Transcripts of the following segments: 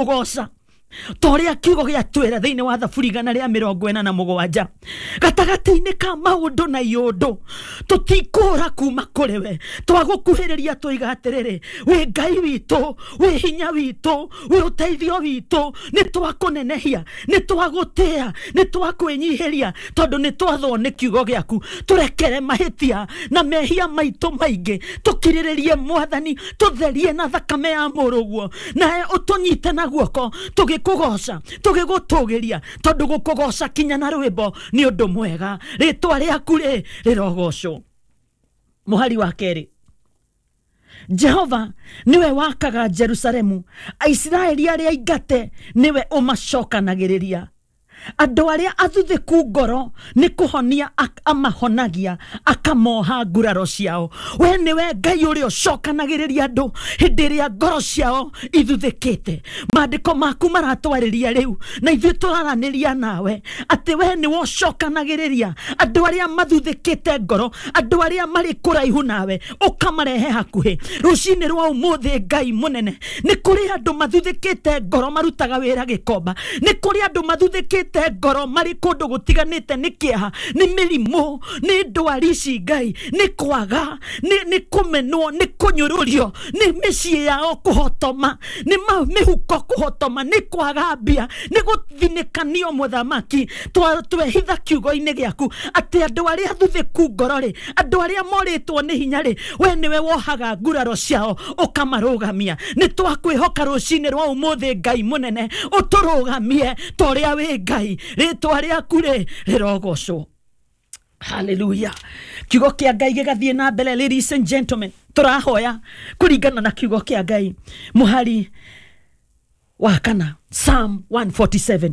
Ũgoca ta ũrĩa kiugo gĩatwĩra thĩinĩ wa Thaburi 147, gatagatĩ-inĩ ka maũndũ na iũndũ tũtikũra kuma kũrĩ we. Twagũkuhĩrĩria tũiga atĩrĩrĩ, wĩ Ngai witũ, wĩ hinya witũ, wĩ ũteithio witũ. Nĩ twakũnenehia, nĩ twagũtĩa, nĩ twakwĩnyihĩria, tondũ nĩ twathwo nĩ kiugo gĩaku. Tũrekere mahĩtia na mehia maitũ maingĩ, tũkirĩrĩrie Mwathani, tũtherie na thakame ya mũrũguo, nawe ũtũnyite na guoko tũgĩkũgoca, tũgĩgũtũgĩria, tondũ gũkũgoca kinya na rwĩmbo nĩ ũndũ mwega. Rĩtwa rĩaku rĩ rĩrogocwo. Mũhari wa 2, Jehova niwe wakaga Jerusalemu, Aisiraeli arĩa aingate niwe ũmacokanagĩrĩria. Andũ arĩa athuthĩku ngoro nĩ kũhonia amahonagia, akamoha nguraro ciao. We nĩwe Ngai ũrĩa ũcokanagĩrĩria andũ hĩndĩ ĩrĩa ngoro ciao ithuthĩkĩte. Maandĩko maku maratwarĩria rĩu na ithuĩ tũraranĩria nawe atĩ we nĩwe ũcokanagĩrĩria andũ arĩa mathuthĩkĩte ngoro, andũ arĩa marĩ kũraihu nawe ũkamarehe hakuhĩ. Rũcinĩ rwa ũmũthĩ, Ngai mũnene, nĩ kũrĩ andũ mathuthĩkĩte ngoro marutaga wĩra Gĩkomba, nĩ kũrĩ andũ mathuthĩkĩte ngoro marĩ kũndũ gũtiganĩte, nĩ kĩeha, nĩ mĩrimũ, nĩ ndwari ici Ngai, nĩ kwaga, nĩ kũmenwo, nĩ kũnyũrũrio, nĩ mĩciĩ yao kũhotoma, nĩ mĩhuko kũhotoma, nĩ kwaga mbia, nĩ gũthinĩkanio. Mũthamaki, twehitha kiugo-inĩ gĩaku atĩ andũ arĩa thuthĩku ngoro rĩ, andũ arĩa morĩtwo nĩ hinya rĩ, we nĩwe wohaga nguraro ciao ũkamarũgamia. Nĩ twakwĩhoka rũcinĩ rwa ũmũthĩ, Ngai mũnene, ũtũrũgamie ta ũrĩa wĩ Ngai. Rĩtwa rĩaku rĩ rĩrogocwo. Haleluya. Kiugo kĩa Ngai gĩgathiĩ na mbere. Ladies and gentlemen, tũrahoya kũringana na kiugo kĩa Ngai. Mũhari wa 4, Psalm 147,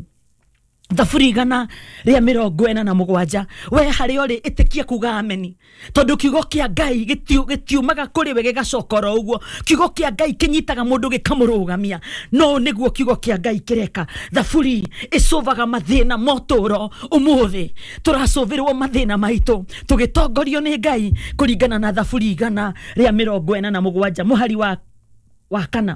Thaburi 147. We harĩa ũrĩ, ĩtĩkia kuga ameni, tondũ kiugo kĩa Ngai gĩtiumaga kũrĩ we gĩgacoka oro ũguo. Kiugo kĩa Ngai kĩnyitaga mũndũ gĩkamũrũgamia. No nĩguo kiugo kĩa Ngai kĩreka. Thaburi ĩcũvaga mathĩna motũro. Ũmũthĩ tũracũvĩrwo mathĩna maitũ tũgĩtongorio nĩ Ngai kũringana na Thaburi 147 mũhari wa 4.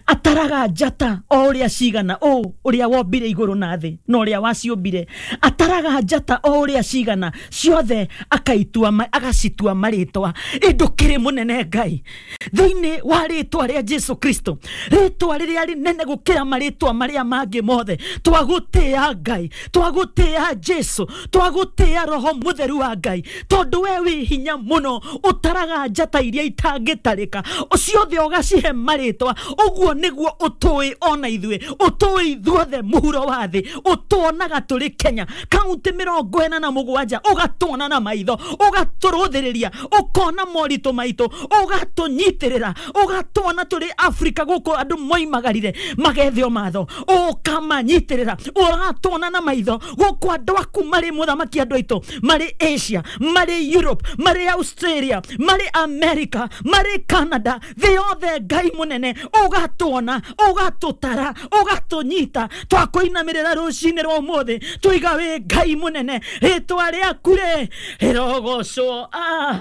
Ataraga njata o ũrĩa cigana, ũ ũrĩa wombire igũrũ na thĩ na ũrĩa waciũmbire. Ataraga njata o ũrĩa cigana, ciothe akaitua agacitua marĩtwa. Ĩ ndũkĩrĩ mũnene Ngai, thĩinĩ wa rĩtwa rĩa Jesu Kristo, rĩtwa rĩrĩa rĩnene gũkĩra marĩtwa marĩa mangĩ mothe. Twagũtĩa Ngai, twagũtĩa Jesu, twagũtĩa Roho Mũtheru wa Ngai, tondũ we wĩ hinya mũno. Ũtaraga njata iria itangĩtarĩka, ciothe ũgacihe marĩtwa. Ũguo nĩguo ũtũĩ ona ithuĩ, ũtũĩ ithuothe mũhuro wa thĩ. Ũtuonaga tũrĩ Kenya, kaunti 47, ũgatuona na maitho, ũgatũrũthĩrĩria, ũkona moritũ maitũ, ũgatũnyitĩrĩra. Ũgatuona tũrĩ Afrika gũkũ andũ moimagarire magethe matho, ũkamanyitĩrĩra. Ũratuona na maitho gũkũ andũ aku marĩ, mũthamaki, andũ aitũ marĩ Asia, marĩ Europe, marĩ Australia, marĩ America, marĩ Canada, thĩ yothe. Ngai mũnene, ũgatuona, ũgatũtara, ũgatũnyita. Twakũinamĩrĩra rũcinĩ rwa ũmũthĩ, tũiga wĩ Ngai mũnene. Rĩtwa rĩaku rĩ rĩrogocwo. Ah.